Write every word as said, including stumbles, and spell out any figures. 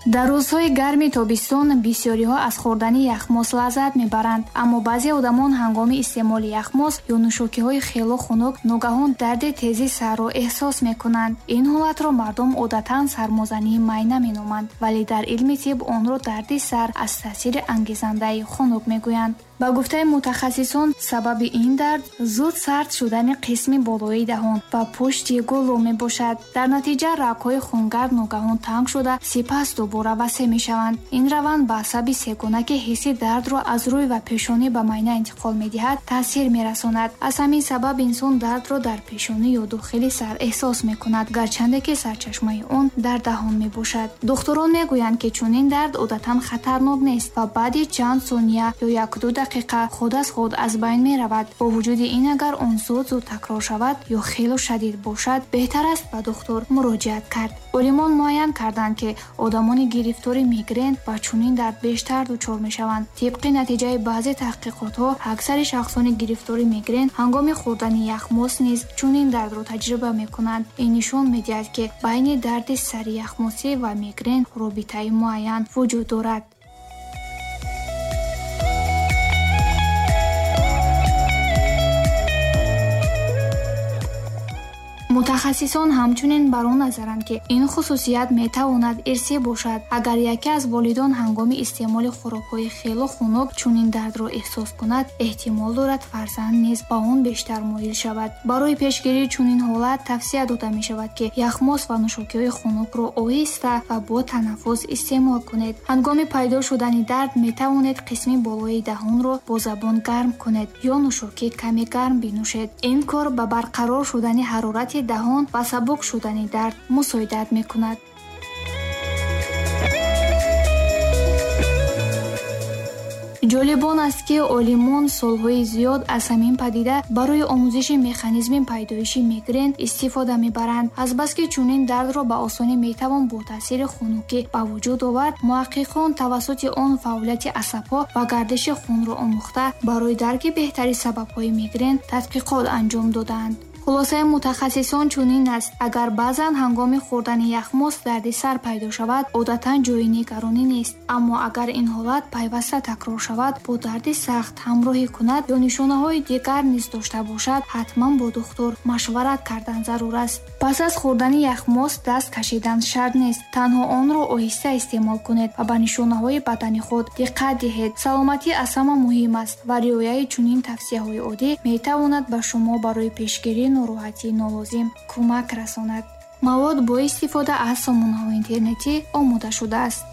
Дар рӯзҳои гарми тобистон бисёриҳо аз хӯрдани яхмос лаззат мебаранд, аммо баъзе одамон ҳангоми истеъмоли яхмос ё нӯшокиҳои хело хунук ногаҳон дарди тези сарро эҳсос мекунанд. Ин ҳолатро мардум одатан сармозании майна меноманд, вале дар илми тиб онро дарди сар аз таъсири ангезандаи хунук мегӯянд. Ба гуфтаи мутахассисон, сабаби ин дард зуд сард шудани қисми болои даҳон ва пушти гулӯ мебошад. Дар натиҷа рагҳои хунгард ногаҳон танг шуда, сипас дубора васеъ мешаванд. Ин раванд ба асаби сегона, ки ҳисси дардро аз рӯй ва пешонӣ ба майна интиқол медиҳад, таъсир мерасонад. Аз ҳамин сабаб инсон дардро дар пешонӣ ё дохили сар эҳсос мекунад, гарчанде ки сарчашмаи он дар даҳон мебошад. Духтурон мегӯянд, ки чунин дард одатан хатарнок нест ва баъди чанд сония ё як-ду дақиқа худ аз худ аз байн меравад. Бо вуҷуди ин, агар он зуд зуд такрор шавад ё хело шадид бошад, беҳтар аст ба духтур муроҷиат кард. Олимон муайян карданд, ки одамони гирифтори мигрен ба чунин дард бештар дучор мешаванд. Тибқи натиҷаи баъзе таҳқиқотҳо, аксари шахсони гирифтори мигрен ҳангоми хӯрдани яхмос низ чунин дардро таҷриба мекунанд. Ин нишон медиҳад, ки байни дарди сари яхмосӣ ва мигрен робитаи муайян вуҷуд дорад. Мутахассисон ҳамчунин бар он назаранд, ки ин хусусият метавонад ирсӣ бошад. Агар яке аз волидон ҳангоми истеъмоли хӯрокҳои хело хунук чунин дардро эҳсос кунад, эҳтимол дорад фарзанд низ ба он бештар моил шавад. Барои пешгирии чунин ҳолат тавсия дода мешавад, ки яхмос ва нӯшокиҳои хунукро оҳиста ва бо танаффус истеъмол кунед. Ҳангоми пайдо шудани дард метавонед қисми болои даҳонро бо забон гарм кунед ё нӯшокӣ каме гарм бинӯшед. Ин кор ба барқарор шудани ҳарорати даҳон ва сабук шудани дард мусоидат мекунад. Ҷолиб он аст, ки олимон солҳои зиёд аз ҳамин падида барои омӯзиши механизми пайдоиши мигрен истифода мебаранд. Азбаски чунин дардро ба осонӣ метавон бо таъсири хунукӣ ба вуҷуд овард, муҳаққиқон тавассути он фаъолияти асабҳо ва гардиши хунро омӯхта, барои дарки беҳтари сабабҳои мигрен тадқиқот анҷом додаанд. Хулосаи мутахассисон чунин аст: агар баъзан ҳангоми хӯрдани яхмос дарди сар пайдо шавад, одатан ҷои нигаронӣ нест. Аммо агар ин ҳолат пайваста такрор шавад, бо дарди сахт ҳамроҳӣ кунад ё нишонаҳои дигар низ дошта бошад, ҳатман бо духтур машварат кардан зарур аст. Пас аз хӯрдани яхмос даст кашидан шарт нест. Танҳо онро оҳиста истеъмол кунед ва ба нишонаҳои бадани худ диққат диҳед. Саломатӣ аз ҳама муҳим аст ва риояи чунин тавсияҳои оддӣ метавонад ба шумо барои пешгирии нороҳатии нолозим кӯмак расонад. Мавод бо истифода аз сомонаҳои интернетӣ омода шудааст.